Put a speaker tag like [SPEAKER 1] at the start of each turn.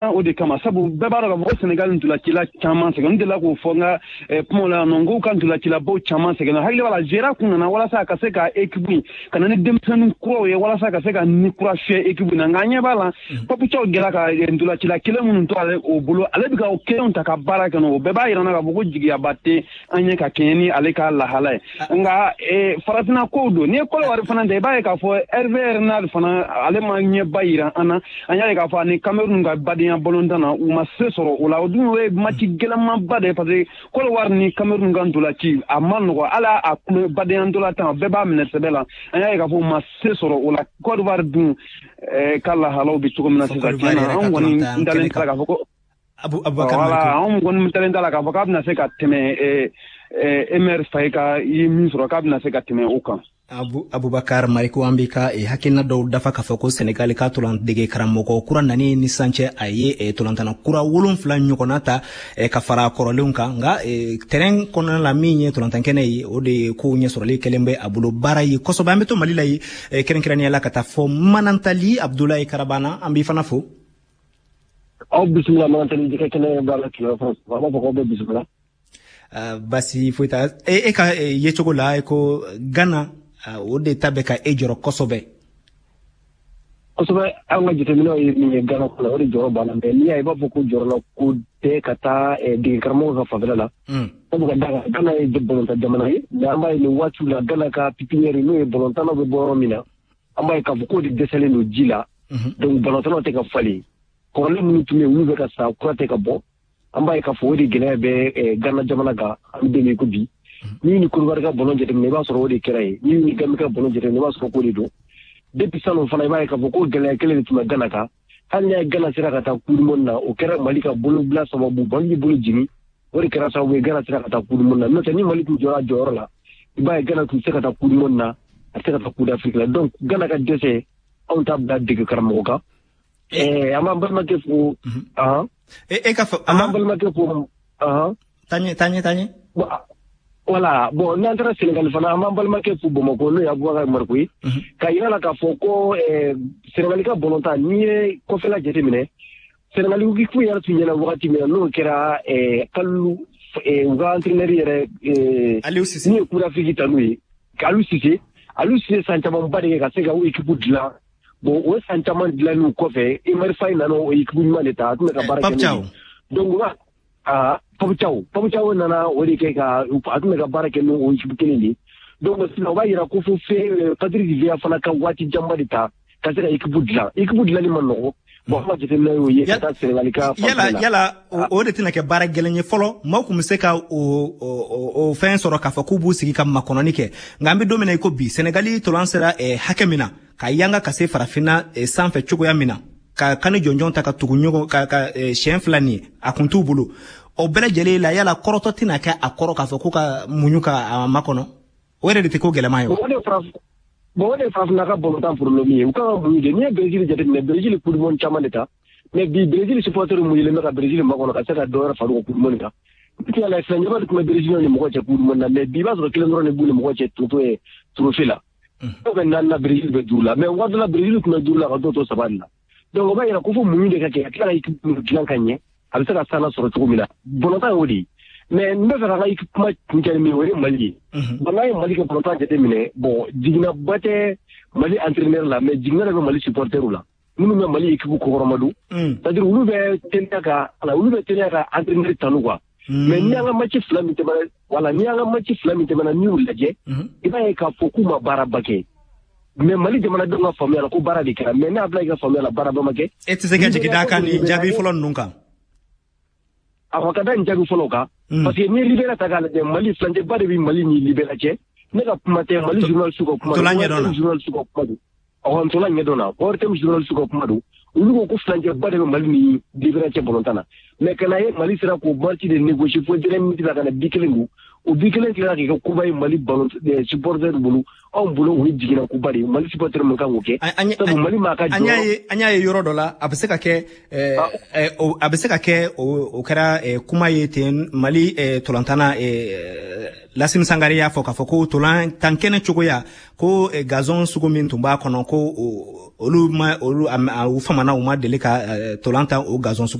[SPEAKER 1] O de kama, sabu bɛɛ b'a dɔn k'a fɔ ko Senegal ntolacila caman sɛgɛn. N delila k'o fɔ n ka kumaw la yan nɔ, n k'u ka ntolacilabaw caman sɛgɛnna. Hakili b'a la, Gera kun nana walasa a ka se ka équipe in ka na ni denmisɛnnin kuraw ye, walasa ka se ka ni kura fiyɛ équipe in na. Nka an ɲɛ b'a la, Pape Thiaw gɛra ka ntolacila kelen minnu to ale o bolo, ale bɛ ka o kelenw ta ka baara kɛ n'o. O bɛɛ b'a yira n na k'a fɔ ko jigiyaba tɛ an ye ka kɛɲɛ ni ale ka lahala ye. Nka farafinna kow don. N'i ye Kɔdiwari fana ta, i b'a ye k'a fɔ Hervé Renard fana, ale ma ɲɛba yira an na. An y'a ye k'a fɔ ani Cameroun ka badenya balontan na, u ma se sɔrɔ o la. O dun, o ye match gɛlɛnmanba de ye, parce que Kɔdiwari ni Cameroun ka ntolanci a ma nɔgɔ. Hali a kulo badenya ntolantan, bɛɛ b'a minɛ sɛbɛ la. An y'a ye k'a fɔ u ma se sɔrɔ o la. Kɔdiwari dun ka lahalaw bɛ cogo min na sisan, tiɲɛ na, anw kɔni dalen t'a la k'a fɔ ko
[SPEAKER 2] Abubakar.
[SPEAKER 1] Voilà, anw kɔni dalen t'a la k'a fɔ k'a bɛna se ka tɛmɛ Emerse Faé ka ye min sɔrɔ, k'a bɛna se ka tɛmɛ o kan.
[SPEAKER 2] Abubakar Mariko, an b'i ka hakilina dɔw dafa k'a fɔ ko Senegali ka tolan dege karamɔgɔ kura nani ni sisan cɛ, a ye tolantana kura 7 ɲɔgɔnna ta ka fara kɔrɔlenw kan. Nka terrain kɔnɔna la, min ye tolantan kɛnɛ ye, o de ye kow ɲɛsɔrɔli kɛlen bɛ a bolo baara ye kosɛbɛ. An bɛ to Mali la ye, kɛrɛnkɛrɛnnenya la ka taa fɔ Manantali. Abudulayi Karabana, an b'i fana fo.
[SPEAKER 3] Aw bisimila Manantali jɛgɛ kɛnɛ b'a la tile fana, an b'a fɔ k'aw bɛ bisimila.
[SPEAKER 2] Basi foyi t'a e ka yecogo la. E ko Ghana, o de ta bɛ ka e jɔrɔ kosɛbɛ.
[SPEAKER 3] Kosɛbɛ. An ka jateminɛw ye min ye Ghana kɔnɔ, o de jɔrɔ b'an na. Mais n'i y'a ye, i b'a fɔ ko jɔrɔla ko tɛ ka taa dege karamɔgɔ ka fanfɛla la. Sabu ka d'a kan, Ghana ye balontan jamana ye, mais an b'a ye nin waatiw la, Ghana ka pépinière, n'o ye balontannaw bɛ bɔ yɔrɔ min na, an b'a ye k'a fɔ k'o de dɛsɛlen don ji la. Donc balontannaw tɛ ka falen, kɔrɔlen minnu tun bɛ yen, olu bɛ ka sa, kura tɛ ka bɔ. An b'a ye k'a fɔ o de gɛlɛya bɛ Ghana jamana kan an bɛ don min ko bi. N'i ni Côte ka ballon jateminɛ, i b'a sɔrɔ o de kɛra yen. N'i ni Gambie ka ballon jateminɛ, i b'a sɔrɔ k'o de don. Depuis salon fana, i b'a ye k'a fɔ ko gɛlɛya kelen de tun bɛ Ghana kan. Hali n'a ye Ghana sera ka taa coupe du monde na, o kɛra Mali ka bolobila sababu, Mali bolo jigin, o de kɛra sababu ye Ghana sera ka taa coupe du monde na. N'o tɛ, ni Mali tun jɔra a jɔyɔrɔ la, i b'a ye Ghana tun tɛ se ka taa coupe du monde na, a tɛ se ka taa coupe d'Afrique la. Donc Ghana ka dɛsɛ, anw t'a bila dege karamɔgɔ kan. An b'an balimakɛ fo.
[SPEAKER 2] E ka fɔ.
[SPEAKER 3] An b'an balimakɛ fo.
[SPEAKER 2] Taɲɛ, taɲɛ, taɲɛ.
[SPEAKER 3] Voilà, bon, n'an taara Sénégal fana, an b'an balimakɛ fo Bamakɔ, n'o ye Abubakar Mariko ye, ka yira la k'a fɔ ko Sénégal ka balontan, n'i ye kɔfɛla jateminɛ, Sénégal équipe yɛrɛ tun ɲɛna wagati min na, n'o kɛra Kalilu, u ka entraîneur yɛrɛ.
[SPEAKER 2] Aliou Cissé.
[SPEAKER 3] Min ye Coupe d'Afrique ta n'u ye, Aliou Cissé. Aliou Cissé san camanba de kɛ ka se ka o équipe dilan. Bon, o san caman dilanniw kɔfɛ, Emerse Faé nana o équipe ɲuman de ta, a tun bɛ ka baara kɛ n'o ye. Donc Pape Thiaw, Pape Thiaw nana o de kɛ ka a tun bɛ ka baara kɛ n'o équipe kelen de ye. Donc sisan, o b'a yira ko fo fɛn Patrick Vieira fana ka waati janba de ta ka se ka équipe dilan. Équipe dilanni ma nɔgɔ. Bon, an ka jateminɛ y'o ye ka taa Sénégal ka
[SPEAKER 2] fanfɛla la. Yala o de tɛna kɛ baara gɛlɛn ye fɔlɔ? Maaw tun bɛ se ka o fɛn sɔrɔ k'a fɔ k'u b'u sigi ka makɔnɔni kɛ. Nka an bɛ don min na i ko bi, Sénégal tolan sera hakɛ min na, ka yanga ka se farafinna sanfɛ cogoya min na, ka kani jɔnjɔn ta ka tugu ɲɔgɔn ka siɲɛ 2 nin ye, a kun t'u bolo. O bɛɛ lajɛlen la, yala kɔrɔtɔ tɛna kɛ a kɔrɔ k'a fɔ ko ka muɲu ka a makɔnɔ? O yɛrɛ de tɛ ko gɛlɛman ye wa?
[SPEAKER 3] Bon, o de ye farafinna ka balontan problème ye. U kan ka muɲu de. N'i ye Brésil jateminɛ, Brésil coupe du monde caman de ta, mais bi Brésil supporter muɲulen bɛ ka Brésil makɔnɔ ka se ka dɔ wɛrɛ far'u ka coupe du monde kan. Bi ala fɛn de tun bɛ Brésil ni mɔgɔ cɛ coupe du monde na, mais bi i b'a sɔrɔ kelen dɔrɔn de b'u ni mɔgɔ cɛ trophée la. Dɔw bɛ 4 na, Brésil bɛ 5 la, mais waati la Brésil tun bɛ 5 la ka dɔw to 3 de la. Donc o b'a yira ko fo muɲu de ka kɛ ka tila ka équipe dilan ka ɲɛ, a bɛ se ka sanna sɔrɔ cogo min na. Balontan y'o de ye. Mais n bɛ fɛ ka n ka kuma kuncɛ ni min ye, o ye Mali ye. Bon, n'an ye Mali ka balontan jateminɛ, bon, jiginnaba tɛ Mali entraîneur la, mais jiginna de bɛ Mali supporter la minnu bɛ Mali équipe kɔkɔrɔma don. C'est à dire olu bɛ teliya ka entraîneur tanu quoi. Mais n'i y'an ka match 2 min tɛmɛna, voilà, n'i y'an ka match 2 min tɛmɛna, n'i y'u lajɛ, i b'a ye k'a fɔ k'u ma baaraba kɛ. Mais Mali jamanadenw ka faamuya la ko baara de kɛra, mais ne y'a bila i ka faamuya la, baaraba ma kɛ.
[SPEAKER 2] E tɛ se ka jigin d'a kan nin jaabi fɔlɔ ninnu kan?
[SPEAKER 3] A ka da nin jaabi fɔlɔ kan. Parce que n'i ye Libéria ta k'a lajɛ, Mali furancɛba de bɛ Mali ni Libéria cɛ. Ne ka kuma tɛ, Mali journaliste ka kuma don.
[SPEAKER 2] Ntola ɲɛdɔn na.
[SPEAKER 3] Journaliste ka kuma don. Ɔhɔn, ntola ɲɛdɔn na. ORTM journaliste ka kuma don. Olu ko ko furancɛba de bɛ Mali ni Libéria cɛ balontan na. Mais ka na ye Mali sera k'o match de négocier fo dernière minute la ka na bi kelen don. O bi kelen tila k'i kɛ koba ye Mali ballon supporter bolo. Anw bolo, o ye jiginna koba de ye. Mali supporter mun kan k'o kɛ? Sabu Mali m'a ka
[SPEAKER 2] An y'a ye, an y'a ye yɔrɔ dɔ la, a bɛ se ka kɛ, a bɛ se ka kɛ o kɛra kuma ye ten. Mali tolantanna Lasimi Sangare y'a fɔ k'a fɔ ko tolan tan kɛnɛ cogoya, ko gazon sugu min tun b'a kɔnɔ, ko olu ma olu u famana, u ma deli ka tolan tan o gazon sugu.